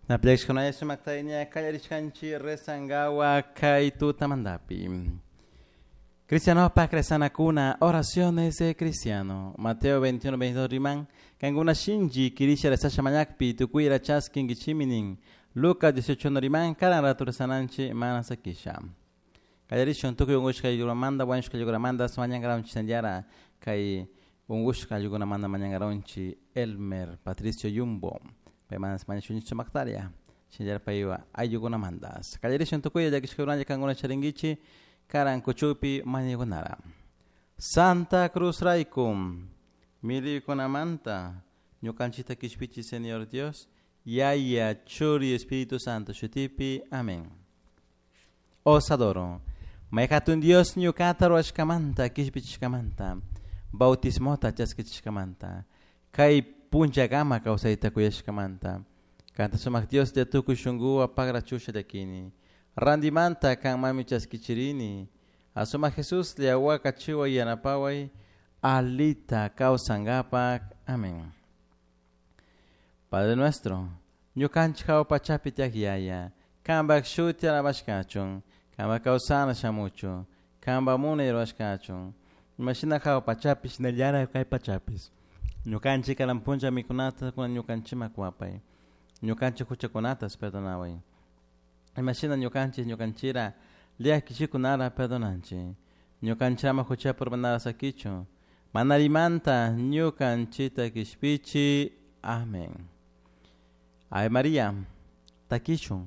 Naplexkunaya sumaktayña kallarishkanchik rezangawa kay tutamantapi. Cristianopak rezanakuna, oraciones de cristiano. Mateo 21, 22 riman, kankuna shinchi kirisha rezasha mañakpi tukuyra chaskinkichimi nin. Lucas 18 riman, karan ratu rezananchik mana sakisha. Kallarishun tukuy unkushka ayllukunamanta, wañushka ayllukunamanta, mañankaranchik shinallara kay unkushka ayllukunamanta mañankaranchik Elmer Patricio Yumbo. Paymanas mañashunchik sumaktaria. Shinallara paywa ayllukunamantas. Kallarishun tukuy llakishkakunalla kankuna charinkichik karan kuchupi mañaykunara. Santa Cruz raykum millaykunamanta ñukanchikta kishpichi Señor Dios, Yaya, Churi, Espíritu Santo shutipi. Amén. Os adoro. May hatun Dios ñukata ruwashkamanta kishpichishkamanta, bautismota chaskichishkamanta, kay punchakama kawsayta kuyashkamanta. Kanta sumak Dios de tukuy shunkuwan pagrachusha llakini. Randimanta kanmami chaskichirini. Asumak Jesús liawaka chiway yanapaway alita kawsankapak. Amén. Padre nuestro, ñukanchik hawa pachapi tiyak Yaya, kanpak shuti alabashkachun, kanpak kawsana shamuchun, kanpak munay rurashkachun, imashina hawa pachapi shinallara kay pachapis. Ñukanchik karan punlla mikunata kunan ñukanchikman kuwapay, ñukanchik huchakunatas perdonaway. Imashina ñukanchik ñukanchira llakichikunara perdonanchik. Ñukanchik ama huchapi urmanara sakichun, mana allimanta ñukanchikta kishpichi. Amén. Ave María, takishun.